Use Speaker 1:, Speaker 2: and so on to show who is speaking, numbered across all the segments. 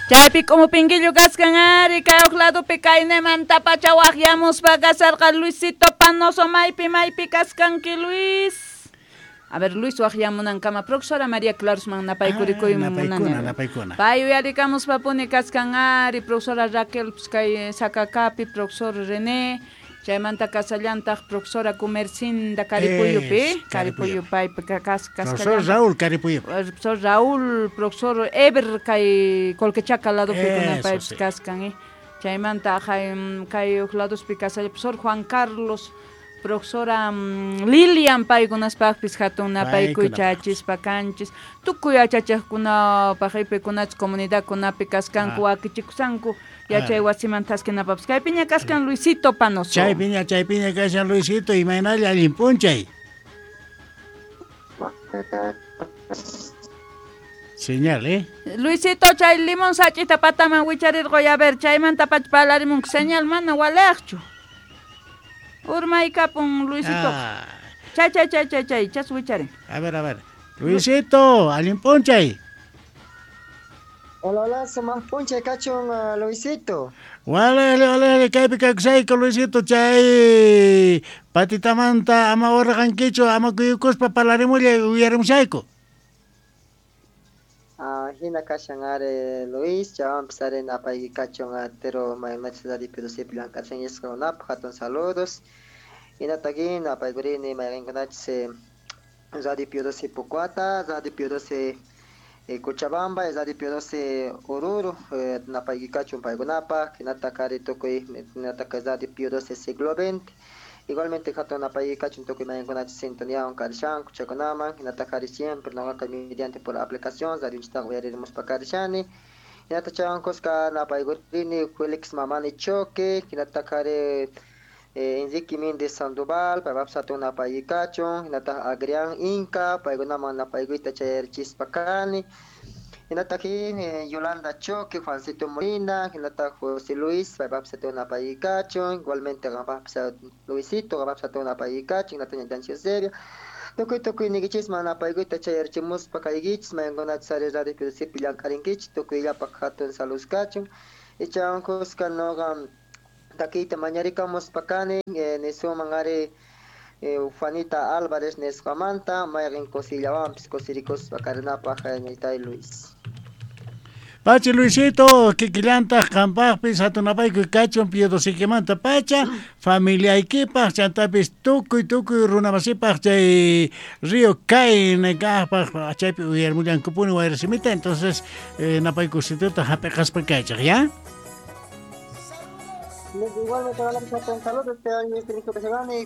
Speaker 1: Chaypi k'umupinquillo kaskan ari kay huk ladopi kaynemantapacha waqyamuspa kasarqa Luisito Panoso maypi maypi kaskanki Luis. A ver, Luis waqyamunankama profesora María Clarusman napaykurikuy
Speaker 2: Napaykuna, napaykuna.
Speaker 1: Pay uyarikamuspa puni kaskan ari profesora Raquel kay Sacaccapi, profesor René, chaymanta kasallantaq profesora Comercinda Caripuyupi, Caripuyu paypi
Speaker 2: Profesor Raúl Caripuyu.
Speaker 1: Profesor Raúl, profesor Eber kay Colquechaca ladopi kuna paypis kaskan, chaymanta kay huk ladospi kasalla profesor Juan Carlos, profesora Lilian paykunaspaqpis hatun napaykuy chachispa kanchis tukuy yachachiqkunapaq ipikunachus comunidadkunapi kaskanku wakichikusanku yachay wasiman thaskinapapis kaypiña kaskan Luisito Panoso.
Speaker 2: Chaypiña chaypiña kashan Luisito, imaynalla allin p'unchay. Señal, ¿eh?
Speaker 1: Luisito, chay limón sach'ita pataman wicharirqoy, a ver, chaymanta pacha parlarimunku señal mana waliqchu. Urmaykapun Luisito. Chay chay chay chay chay, chas wicharin.
Speaker 2: A ver, a ver. Luisito, allin p'unchay.
Speaker 3: Hola, hola, sumaq p'unchay kachun Luisito.
Speaker 2: Wale, wale, kaypi kakusayku Luisito, chay patitamanta ama urqankichu, ama kuyukuspa parlarimullay uyarimushayku.
Speaker 3: Hina kashan ari Luis, chaywanpis ari napayki kachun atero maymanachus Radio Pio Docepi llank'ashan yasqakunapaq hatun saludos. Hinataqin napaykurini mayqinkunachus Radio Pio Doce Pucuata, Radio Pio Doce Cochabamba, Radio Pio Doce Oruro, napayki kachun paykunapaq, hinataq ari tukuy hinataq Radio Pio Doce Siglo XX. Igualmente hatun napayki kachun tukuy mayqinkunachus sintoniawan karishanku chaykunaman, hinataq ari siempre noqaqa mediante por aplicación radionchiktaqa uyaririmuspa karishani. Hinataq chaywan kuska napaykurini Felix Mamani Choque, hinataq ari Enrique Méndez Sandoval, paypapis hatun napayki kachun, hinataq Adrián Inca, paykunaman napaykuyta chayarichispa kani. Hinataq Yolanda Choque, Juancito Molina, hinataq José Luis, paypapis hatun napayki kachun, igualmente qanpaqpis Luisito, qanpapis hatun napayki kachun, hinataq ñañanchik Eusebio. Tukuy tukuy niykichisman napaykuyta chayarichimuspa kaykichis, mayqinkunachus ari Radio Pio Docepi llank'arinkichis, tukuyllapaq hatun salud kachun. Ichawan kuska nuqa takiyta mañarikamuspa kani, nisuman ari Juanita Álvarez nisqamanta, mayqin kusiyllawanpis kusirikuspa karinapaq ñaytay Luis.
Speaker 2: Pachi Luisito, kikillantaq qampaqpis hatun napaykuy kachun Pio Docekimanta pacha, familiaykipaq chantapis tukuy tukuy runamasipaq chay Río Caine kaqpaq chaypi uyarimullankupuni wayrasimita, entonces napaykusituta hap'iqaspa kaychaq, ¿ya?
Speaker 3: Igualmente hatun saludos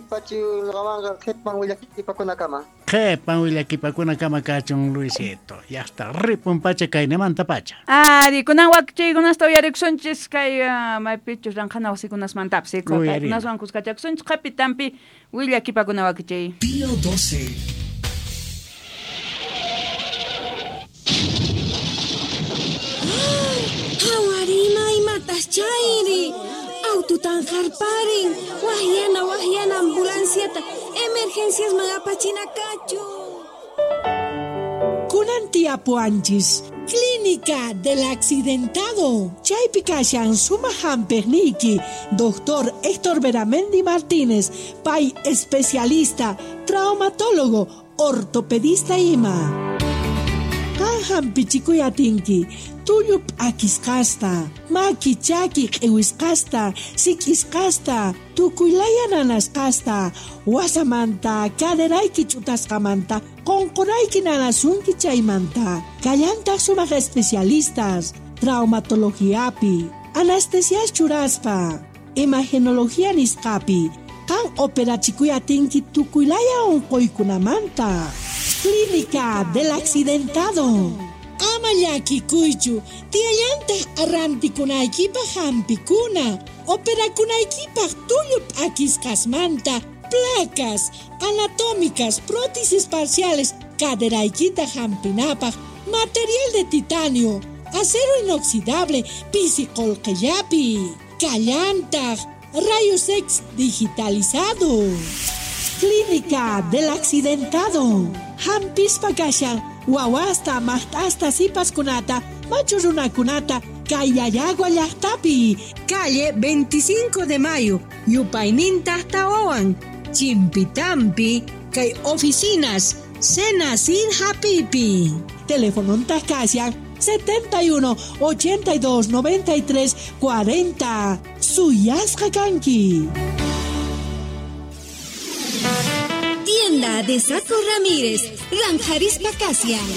Speaker 3: pachi nuqamanqa qhipan willakipakunakama.
Speaker 2: Qhipan willakipakunakama kachun Luisito. Ya está, ripun pacha kaynemanta pacha.
Speaker 1: Ari, kunan wakichiykunasta uyarikusunchis kay maypichus ranqhana wasikunasmantapis, paykunaswan kuskachakusunchis qhipitanpi willakipakuna wakichiy.
Speaker 4: Pio 12.
Speaker 5: Hawarima imatas chayri. Aututan harparin, wahyana wahyana ambulanciata, emergencias magapachina kachu.
Speaker 6: Kunan tiapuanchis, Clínica del Accidentado. Chaypi kashan sumaq hampiqniyki, Doctor Héctor Beramendi Martínez, pay especialista, traumatólogo, ortopedista ima. Qan hampichikuy atinki, tullu p'akisqasta, maki chaki q'iwisqasta, sik'isqasta, tukuylaya nanasqasta, wasamanta, caderayki ch'utasqamanta, qunqurayki nanasunki chaymanta. Kallantaq sumaq especialistas, traumatologiapi, anestesias churaspa, imagenología nisqapi, qan operachikuy atinki tukuylaya unquykunamanta. Clínica del Accidentado. Ama llakikuychu, tiyallantaq arrantikunaykipaq hampikuna, operakunaykipaq tullu p'akisqasmanta, placas anatómicas, prótesis parciales, caderaykita hampinapaq, material de titanio, acero inoxidable, pisi qullqillapi, kallantaq, rayos X digitalizado. Clínica del Accidentado. Hampispa kashan Wawasta, maqt'asta, sipaskunata, machu runakunata, kay Llallagua llaqtapi.
Speaker 5: Calle 25 de Mayo, yupayninta tawawan, Chimpitampi, kay oficinas, Sena sin hapipi.
Speaker 6: Teléfono kashan 71 82 93 40. Suyasqa kanki.
Speaker 5: Tienda de Saco Ramírez, Ranjarispa Kasian.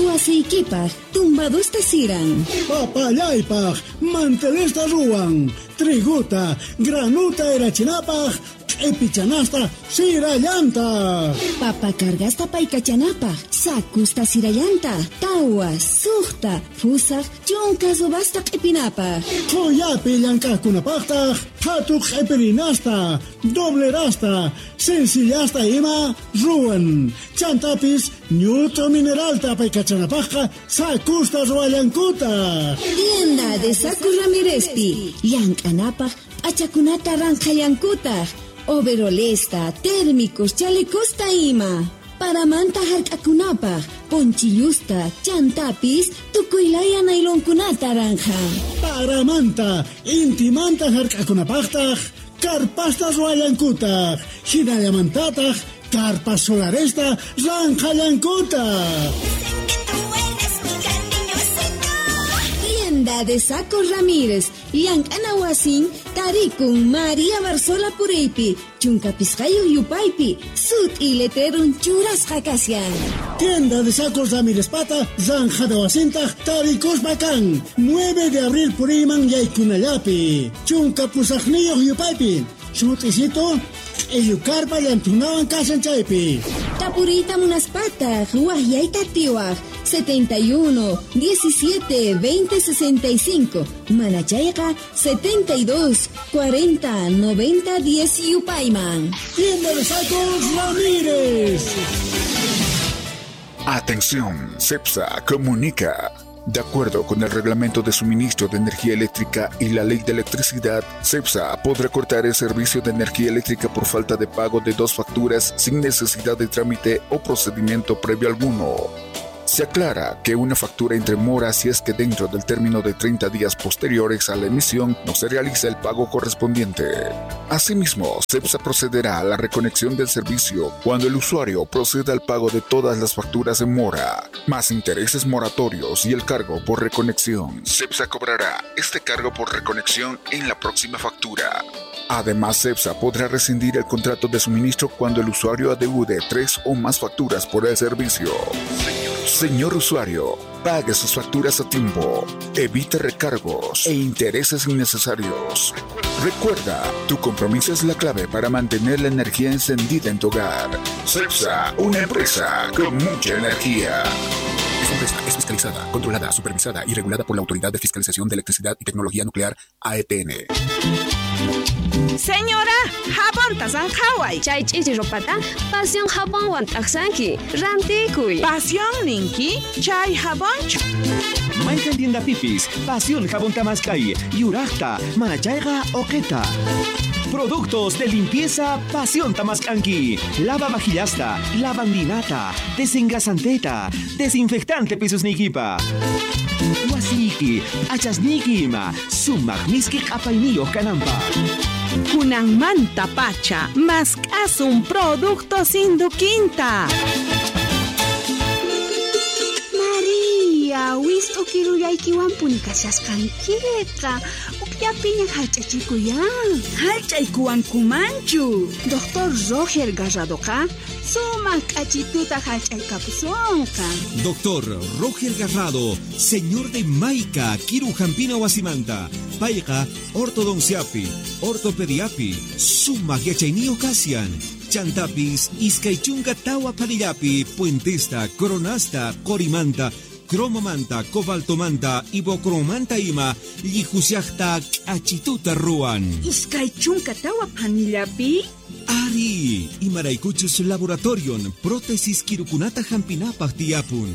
Speaker 5: Wasiykipaq, tumbadusta siran.
Speaker 2: Papallaypaq, mantelesta ruwan. Triguta, granuta erachinapaq, q'ipichanasta sirallanta.
Speaker 5: Papa cargasta paykachanapaq, sakusta sirallanta, tawa, suqta, fusaq, chunka subasta q'ipinapaq.
Speaker 2: Qhuyapi llank'aqkunapaqtaq, phatu q'ipirinasta, doblerasta, sencillasta ima ruwan. Chantapis ñut'u mineralta paykachanapaqqa sakusta ruwallankutaq.
Speaker 5: Tienda de Saco Ramírezpi, llank'anapaq p'achakunata ranqhallankutaq. Overolesta, térmicos, chalecosta ima. Paramanta hark'akunapaq, ponchillusta, chantapis, tukuylaya nailonkunata ranja.
Speaker 2: Paramanta, intimanta hark'akunapaqtaq, karpasta ruwallankutaq, hinallamantataq, karpas solaresta ranqhallankutaq.
Speaker 5: Tienda de Saco Ramírez, llank'ana wasin, tarikun María Barzola Puriypi, chunka pisqayuq yupaypi, sut'i letrerun churasqa kashan.
Speaker 2: Tienda de Sacos Ramírez Pata, Zanjada wasintaq, tarikuspa kan, 9 de abril puriyman yaykunallapi, chunka pusaqniyuq yupaypi, sut'isito, q'illukarpa llantunawan kashan chaypi.
Speaker 5: Tapuriyta munaspataq, waqyayta tiwaq, 71 17 20 65, manachayqa 72 40 90 10 yupayman.
Speaker 2: Tienda de Sacos Ramírez.
Speaker 4: Atención, CEPSA comunica. De acuerdo con el Reglamento de Suministro de Energía Eléctrica y la Ley de Electricidad, CEPSA podrá cortar el servicio de energía eléctrica por falta de pago de 2 facturas sin necesidad de trámite o procedimiento previo alguno. Se aclara que una factura entre mora si es que dentro del término de 30 días posteriores a la emisión no se realiza el pago correspondiente. Asimismo, CEPSA procederá a la reconexión del servicio cuando el usuario proceda al pago de todas las facturas en mora, más intereses moratorios y el cargo por reconexión. CEPSA cobrará este cargo por reconexión en la próxima factura. Además, CEPSA podrá rescindir el contrato de suministro cuando el usuario adeude 3 o más facturas por el servicio. Señor usuario, pague sus facturas a tiempo, evite recargos e intereses innecesarios. Recuerda, tu compromiso es la clave para mantener la energía encendida en tu hogar. CEPSA, una empresa con mucha energía. Esta empresa es fiscalizada, controlada, supervisada y regulada por la Autoridad de Fiscalización de Electricidad y Tecnología Nuclear, AETN.
Speaker 7: Señora, jabón tasanjaway.
Speaker 8: Chay ch'ichi ropata, pasión jabonwan t'aqsanki, rantikuy.
Speaker 7: Pasión ninki, chay jabonchu.
Speaker 9: Mayqan tienda pipis, pasión jabón tamaskay, yuraqta, manachayqa oqeta. Productos de limpieza Pasión Tamascanqui. Lava vajillasta, lavandinata, desengrasanteta, desinfectante pisusnikipa. Wasiki, achasniki ima, sumaq miski q'apayniyuq kananpaq.
Speaker 7: Kunanmanta pacha, mask'asun productos induquinta.
Speaker 5: María, wist'u kirullaykiwanpuni kashasqankiqa. Ukllapiña hallch'achikuyan.
Speaker 7: Hallch'aykuwankumanchu.
Speaker 5: Doctor Roger Garradoqa sumaq k'achituta hallch'aykapusunqa.
Speaker 9: Doctor Roger Garrado, señor de Maica, Kiru Jampina Wasimanta, Payqa, ortodonciapi, ortopediapi, sumaq yachayniyuq kasyan. Chantapis, iskay chunka tawa panillapi, puentesta, coronasta, qorimanta, cromomanta, cobaltomanta, ibocromanta ima, llihusiaqta k'achituta ruwan.
Speaker 7: 24 panillapi?
Speaker 9: Ari, imaraykuchus laboratorion, prótesis kirukunata hampinapaq tiyapun.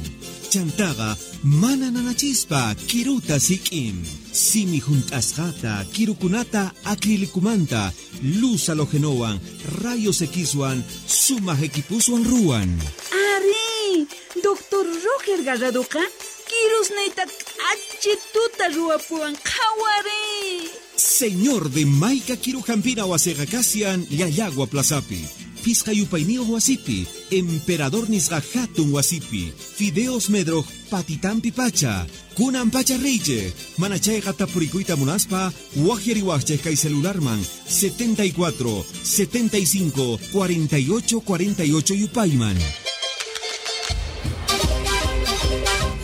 Speaker 9: Chantaqa, mana nanachispa, kiruta sik'in. Simi junt'asqata, kirukunata acrilicumanta, luz halogenowan, rayos Xwan, sumaq equipuswan ruwan.
Speaker 7: Ari, Doctor Roger Garradoqa kirusniyta k'achituta ruwapuwan qhawariy.
Speaker 9: Señor de Maica Kirujampina wasiqa kashan Llallagua Plazapi. Pisqa yupayniyuq wasipi, Emperador nisqa hatun wasipi, Fideos Medroj patitampi pacha, kunan pacha riychej, mana chayqa tapurikuyta munaspa, waqyariwaqchej kay celularman 74 75 48 48 yupayman.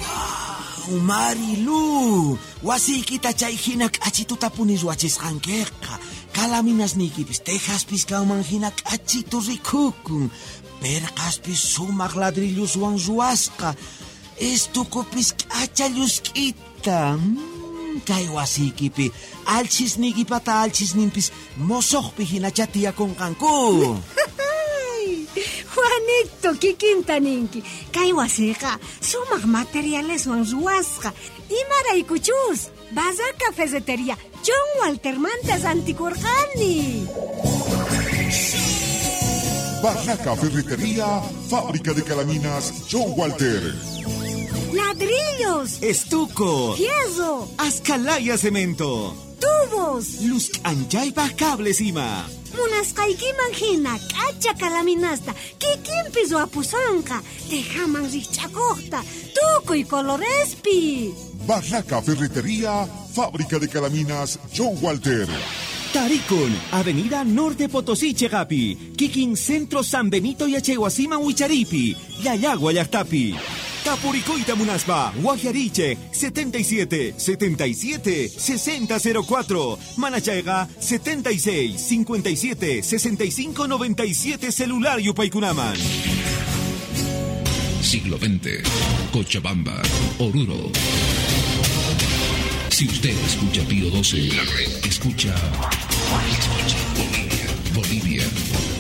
Speaker 10: Wow, Marilu, wasiykita chay hina k'achituta puni ruwachisqankiqa. Kalaminasniykipis tejaspis kanman hina k'achitu rikukun. Perqaspis sumaq ladrilloswan ruwasqa. Estukupis k'acha llusk'ita. Kay wasiykipi alchisniykipata alchisninpis mosoqpi hinacha tiyakunqanku.
Speaker 11: Juanito, kikinta ninki. Kay wasiqa sumaq materialeswan ruwasqa. Imaraykuchus Barraca Ferretería John Waltermanta rantikurqani.
Speaker 4: Barraca Ferretería, fábrica de calaminas John Walter.
Speaker 11: Ladrillos,
Speaker 9: estuco,
Speaker 11: fierro,
Speaker 9: ascalaya cemento,
Speaker 11: tubos,
Speaker 9: luz anchaypaj cables ima.
Speaker 11: Munasqaykiman hina k'acha kalaminasta kikinpi ruwapusonqa, tejaman rikch'akuqta, tukuy colorespi.
Speaker 4: Barraca Ferretería, fábrica de calaminas John Walter.
Speaker 9: Tarikun, Avenida Norte Potosí, Chegapi, Kikin Centro San Benito y Achehuasima Huicharipi, Llallagua Llaqtapi. Tapuricoita Munaspa, Guajariche, 77 77 6004, Manachayga, 76 57 65 97, celular Yupaykunaman.
Speaker 12: Siglo XX, Cochabamba, Oruro. Si usted escucha Pío 12, la red escucha. Escucha.